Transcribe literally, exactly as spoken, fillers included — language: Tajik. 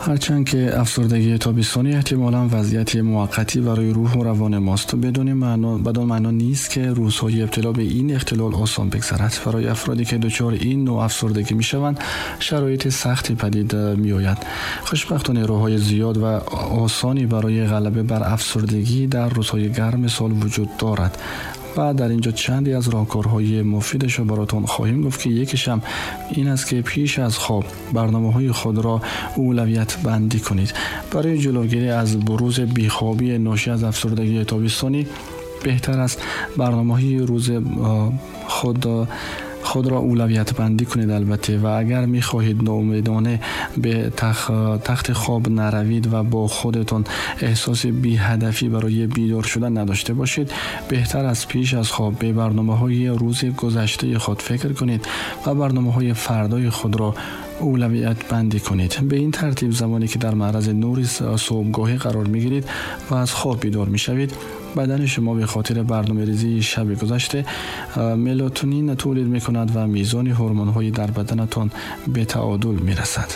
Ҳарчанд ки афсурдагии тобистонӣ эҳтимолан вазъияти муваққатӣ барои рӯҳу равони мост, бедони маъно бадон маъно нест, ки рӯзҳои ибтило ба ин ихтилол осон бигзарад. Барои афроде ки дучори ин навъ афсурдагӣ мешаванд, шароити сахти падид меояд. Хушбахтона, роҳҳои зиёд ва осоне барои ғалаба бар афсурдагӣ дар рӯзҳои гарми сол вуҷуд дорад ва дар инҷо чанде аз роҳкорҳои муфидашро баротон хоҳем гуфт, ки якеш ҳам ин аст, ки пеш аз хоб барномаҳои худро улавият бандӣ кунед. Барои ҷилавгирӣ аз бурузи бехобӣ ношӣ аз афсурдагии тобистонӣ, беҳтар аст барномаҳои рӯз худ худро улавият бандӣ кунед, албатта. Ва агар мехоҳед ноумедона ба тахти хоб наравед ва бо худатон эҳсоси беҳадафӣ барои бедор шудан надошта бошед, беҳтар аст пеш аз хоб ба барномаҳои рӯзи гузаштаи худ фикр кунед ва барномаҳои фардои худро улавият бандӣ кунед. Ба ин тартиб, замоне ки дар маърази нури субҳгоҳӣ қарор мегиред ва аз хоб бедор мешавед, бадани шумо ба хотири барномарезии шаби гузашта мелатонин тولید мекунад ва мизони ҳормонҳои дар баданатон ба таъодул мерасад.